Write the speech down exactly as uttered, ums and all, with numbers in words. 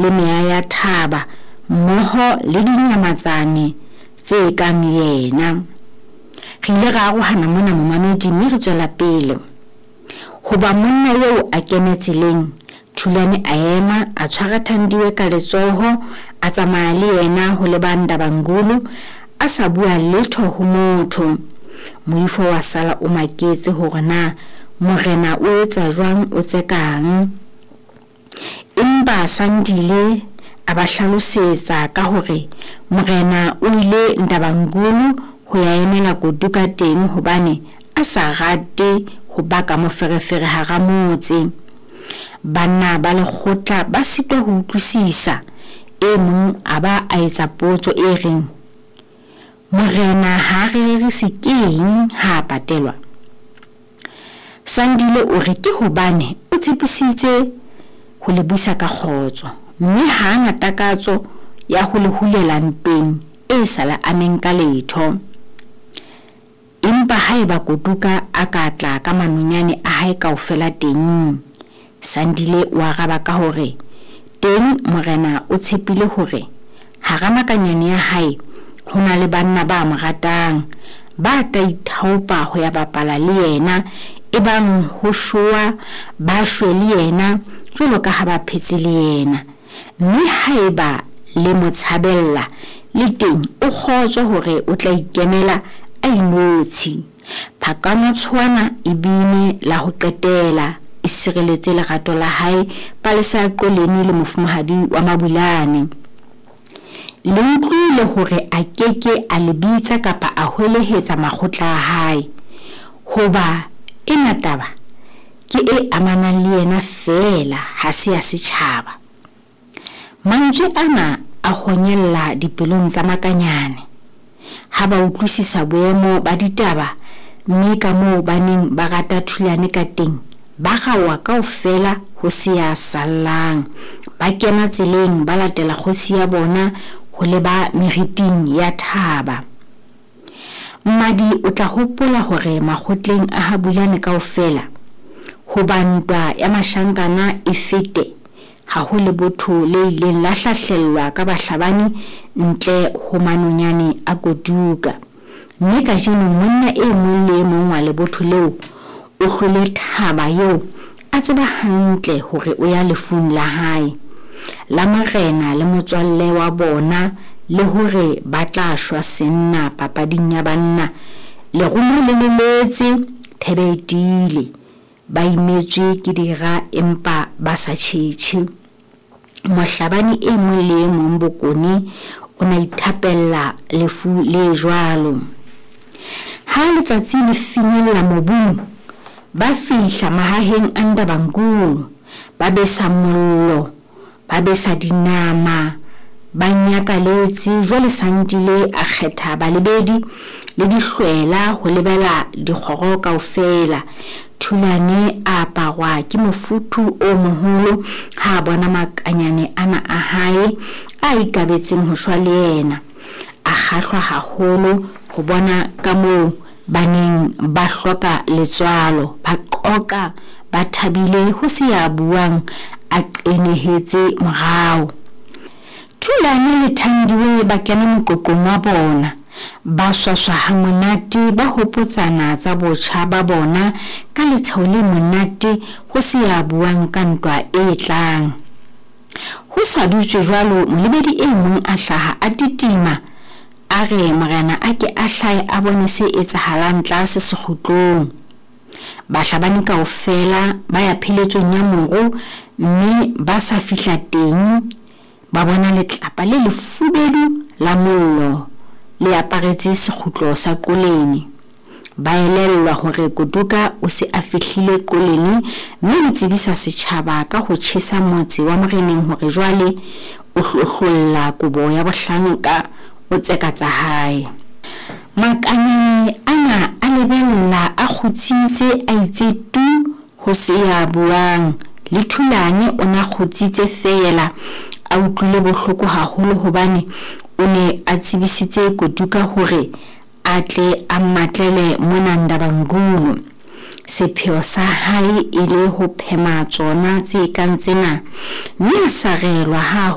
Le meya ya thaba mmoho le dinyamatsane tse kang yena. Re ile ra arohana mona momamedi mme re tswela pele. Hoba monna eo a kene tseleng, Thulane a ema, a tshwara Thandiwe ka letsoho, a tsamaya le yena ho leba Ndabankulu, a sa bua letho ho motho. Moifo wa sala o maketse hore na morena o etsa jwang o tsekang. Empa Sandile a ba hlalosetsa ka hore morena o ile Ndabankulu ho ya emela Koduka teng hobane a sa rate ho baka moferefere hara motse. Banna ba lekgotla ba sitwa ho utlwisisa, e mong a ba a etsa potso e reng, Morena ha a re rerise keng ha a patelwa? Sandile o re ke hobane o tshepisitse ho le busa ka kgotso, mme ha a na takatso ya ho le hulela ntweng e sa le ameng ka letho. Empa haeba Koduka a ka tla ka manonyane a hae kaofela teng? Sandile o araba ka hore teng morena o tshepile hore hara makanyane ya hae ho na le banna ba mo ratang, ba tla ithaopa ho ya bapala le yena, ebang ho showa ba shwe le yena jwalo ka ha ba phetse le yena. Mme haeba le mo tshabella, le teng o kgotswe hore o tla ikemela a inotshi. Phakamatshoana e bine la ho qetela e sireletse lerato la hae Palesa ya Qoleni le mofumahadi wa Mabulane. Le utlwile hore a ke ke a le bitsa kapa a hwelehetsa makgotla a hae, hoba ena taba ke e amanang le yena feela, ha se ya setjhaba. Mantswe ana a honyella dipelong tsa Makanyane ha ba utlwisisa boemo ba ditaba mme kamoo ba neng ba rata Thulane ka teng, ba raoha kaofela ho se ya sallang. Ba kena tseleng ba latela kgosi ya bona ho leba meriting ya thaba. Mmadi o tla hopola hore makgotleng a ha Bulane kaofela, hoba ntwa ya mashankana e fete, ha ho lebotho le ileng la hlahlellwa ka bahlabani ntle ho manonyane a Koduka. Mme kajeno monna e mong le e mong wa lebotho leo o hlwele thaba eo a tseba hantle hore o ya lefung la hae, la morena le motswalle wa bona, le hore ba tla shwa senna papading ya banna. Lerumo le leletse, thebe e tiile, ba imetswe ke dira empa ba sa tjhetjhe. Mohlabani e mong le e mong Bokone o na ithapella lefu le jwalo. Ha letsatsi le finyella mobung, ba fihla mahaheng a Ndabankulu, ba besa mollo, ba besa dinama, ba nyakaletse. Jwale Sandile a kgetha balebedi le dihlwela ho lebela dikgoro kaofela. Thulane a aparwa ke mofuthu o moholo ha a bona makanyane ana a hae a ikabetseng ho shwa le yena. A kgahlwa haholo ho bona kamoo ba neng ba hloka letswalo, ba qoqa ba thabile ho se ya buang a qenehetse morao. Thulane le Thandiwe ba kena moqoqong wa bona, ba swaswa hamonate, ba hopotsana tsa botjha ba bona ka letsheho le monate ho se ya buang ka ntwa e tlang. Ho sa dutswe jwalo, molebedi e mong a hlaha a titima, a re morena a ke a hlahe a bone se etsahalang tlase sekgutlong. Bahlabani kaofela ba ya pheletsong ya moru, mme ba sa fihla teng ba bona letlapa le lefubedu la mollo le aparetse sekgutlo sa Qoleni. Ba elellwa hore Koduka o se a fihlile Qoleni mme o tsebisa setjhaba ka ho tjhesa motse wa moreneng hore jwale o hlohlolla kobo ya bohlanka, o tseka tsa hae. Makanyane ana a lebella a kgutsitse, a itse tu ho se ya buang. Le Thulane o na kgutsitse feela, a utlwile bohloko haholo hobane o ne a tsebisitse Koduka hore a tle a mmatlele mona Ndabankulu. Sepheo sa hae e le ho phema tsona tse kang tsena, mme a sarelwa ha